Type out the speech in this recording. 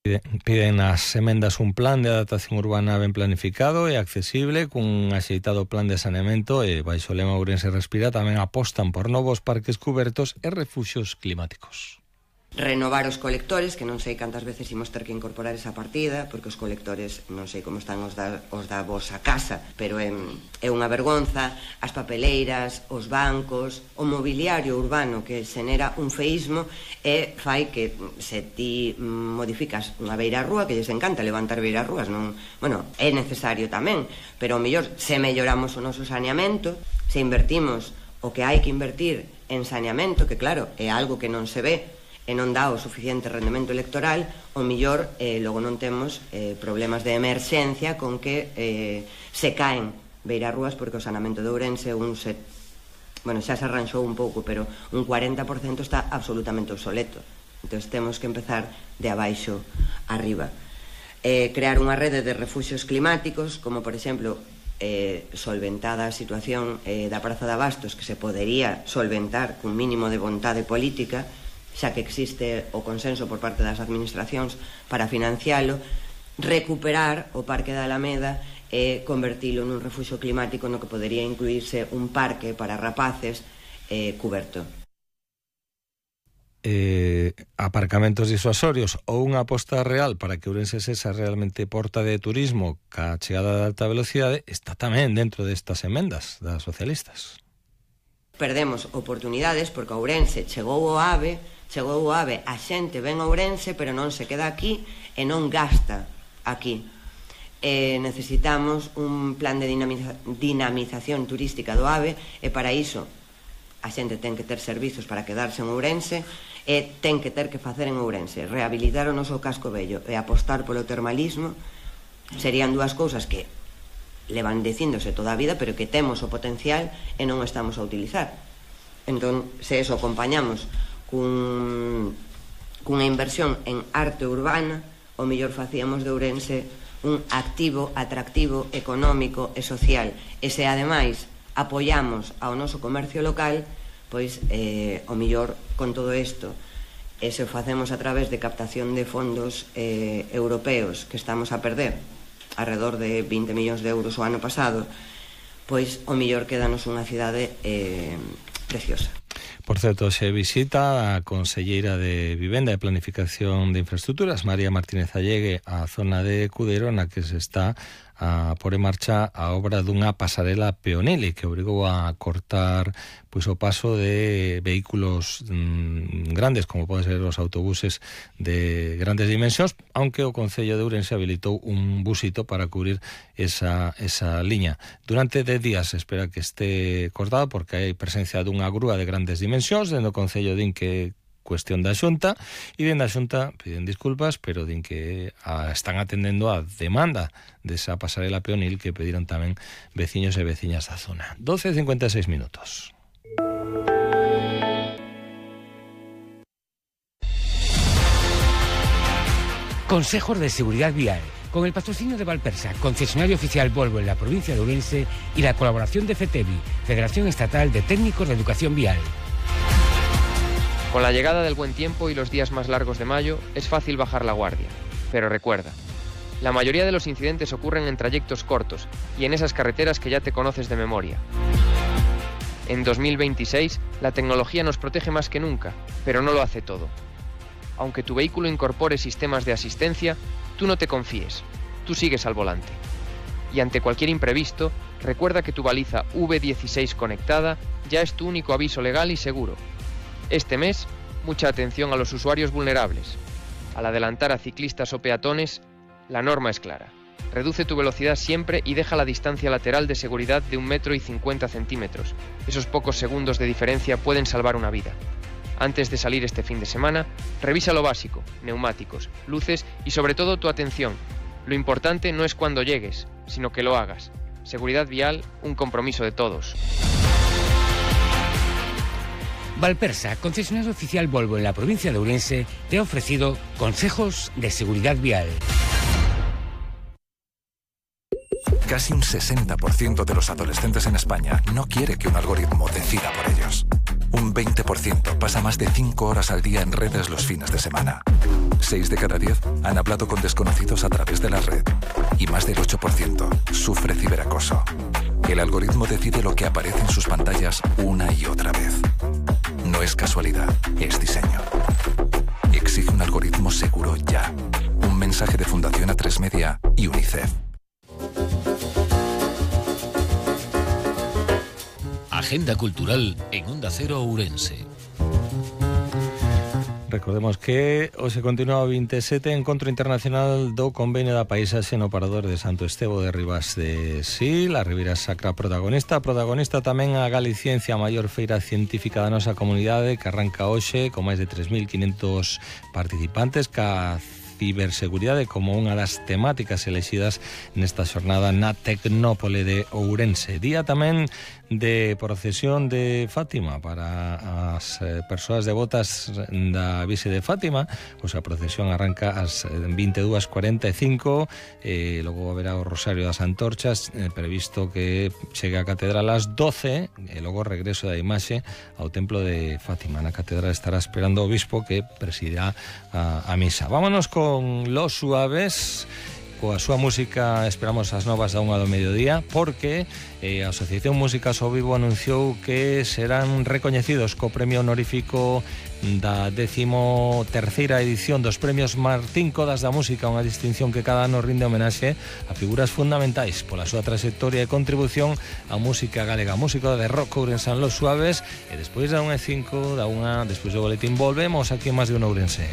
Piden as emendas un plan de adaptación urbana ben planificado e accesible, cun axeitado plan de saneamento e baixo o lema Ourense Respira tamén apostan por novos parques cubertos e refuxios climáticos. Renovar os colectores, que non sei cantas veces imos ter que incorporar esa partida, porque os colectores non sei como están os da vosa casa, pero é unha vergonza, as papeleiras, os bancos, o mobiliario urbano que xenera un feísmo e fai que se ti modificas unha beirarrúa, que lles encanta levantar beirarrúas, non, bueno, é necesario tamén, pero o mellor se melloramos o noso saneamento, se invertimos o que hai que invertir en saneamento, que claro, é algo que non se ve, e non dá o suficiente rendemento electoral, o mellor logo non temos problemas de emerxencia con que se caen beirarrúas, porque o saneamento de Ourense xa se arranxou un pouco, pero un 40% está absolutamente obsoleto. Entón temos que empezar de abaixo arriba. Crear unha rede de refuxios climáticos, como por exemplo solventada a situación da Praza de Abastos, que se podería solventar cun mínimo de vontade política, xa que existe o consenso por parte das administracións para financialo, recuperar o Parque da Alameda e convertilo nun refuxio climático no que podería incluirse un parque para rapaces cuberto. Aparcamentos disuasorios ou unha aposta real para que Ourense sexa realmente porta de turismo ca chegada da alta velocidade está tamén dentro destas emendas das socialistas. Perdemos oportunidades porque Ourense chegou o AVE, a xente ven a Ourense pero non se queda aquí e non gasta aquí. Necesitamos un plan de dinamización turística do AVE e para iso a xente ten que ter servizos para quedarse en Ourense e ten que ter que facer en Ourense. Rehabilitar o noso casco vello e apostar polo termalismo serían dúas cousas que levan dicíndose toda a vida, pero que temos o potencial e non o estamos a utilizar. Entón, se eso acompañamos cunha inversión en arte urbana, o mellor facíamos de Ourense un activo, atractivo, económico e social. E se ademais apoiamos ao noso comercio local, pois o mellor con todo isto, e se o facemos a través de captación de fondos europeos que estamos a perder, alrededor de 20 millóns de euros o ano pasado, pois o mellor quédanos unha cidade preciosa. Por certo, se visita a conselleira de Vivenda e Planificación de Infraestructuras, María Martínez Allegue, a zona de Cudero, na que se está a pôr en marcha a obra dunha pasarela peonil que obrigou a cortar pois o paso de vehículos grandes, como poden ser os autobuses de grandes dimensións, aunque o Concello de Ourense habilitou un busito para cubrir esa liña. Durante 10 días se espera que este cortado, porque hai presencia dunha grúa de grandes dimensións, dentro do Concello din que cuestión da Xunta, e dentro da Xunta piden disculpas, pero din que están atendendo a demanda desa pasarela peonil que pediron tamén veciños e veciñas da zona. 12:56 minutos. Consejos de Seguridad Vial, con el patrocinio de Valpersa, concesionario oficial Volvo en la provincia de Ourense, y la colaboración de FETEVI, Federación Estatal de Técnicos de Educación Vial. Con la llegada del buen tiempo y los días más largos de mayo, es fácil bajar la guardia. Pero recuerda, la mayoría de los incidentes ocurren en trayectos cortos y en esas carreteras que ya te conoces de memoria. En 2026, la tecnología nos protege más que nunca, pero no lo hace todo. Aunque tu vehículo incorpore sistemas de asistencia, tú no te confíes, tú sigues al volante. Y ante cualquier imprevisto, recuerda que tu baliza V16 conectada ya es tu único aviso legal y seguro. Este mes, mucha atención a los usuarios vulnerables. Al adelantar a ciclistas o peatones, la norma es clara. Reduce tu velocidad siempre y deja la distancia lateral de seguridad de 1,50 m. Esos pocos segundos de diferencia pueden salvar una vida. Antes de salir este fin de semana, revisa lo básico, neumáticos, luces y sobre todo tu atención. Lo importante no es cuando llegues, sino que lo hagas. Seguridad vial, un compromiso de todos. Valpersa, concesionario oficial Volvo en la provincia de Ourense, te ha ofrecido consejos de seguridad vial. Casi un 60% de los adolescentes en España no quiere que un algoritmo decida por ellos. Un Un 20% pasa más de 5 horas al día en redes los fines de semana. 6 de cada 10 han hablado con desconocidos a través de la red. Y más del 8% sufre ciberacoso. El algoritmo decide lo que aparece en sus pantallas una y otra vez. No es casualidad, es diseño. Exige un algoritmo seguro ya. Un mensaje de Fundación A3 Media y UNICEF. Agenda cultural en Onda Cero Ourense. Recordemos que hoxe continúa o 27 Encontro Internacional do Convenio da Paisaxe no Parador de Santo Estevo de Ribas de Sil. A Ribeira Sacra protagonista tamén a Galiciencia, a maior feira científica da nosa comunidade, que arranca hoxe con máis de 3.500 participantes, ca ciberseguridade como unha das temáticas elexidas nesta xornada na Tecnópole de Ourense. Día tamén de procesión de Fátima para as persoas devotas da Virxe de Fátima. Pois a procesión arranca ás 22:45, logo haberá o Rosario das Antorchas, previsto que chegue a Catedral ás 12, e logo regreso da imaxe ao Templo de Fátima. Na Catedral estará esperando o obispo que presidirá a misa. Vámonos con Los Suaves. Coa súa música esperamos as novas da 1 do mediodía, porque a Asociación Músicas ao Vivo anunciou que serán recoñecidos co premio honorífico da 13ª edición dos premios Martín Codas da Música, unha distinción que cada ano rinde homenaxe a figuras fundamentais pola súa trayectoria e contribución á música galega. Música de rock ourense en Los Suaves, e despois da 1:05, despois do boletín, volvemos aquí en Más de un Ourense.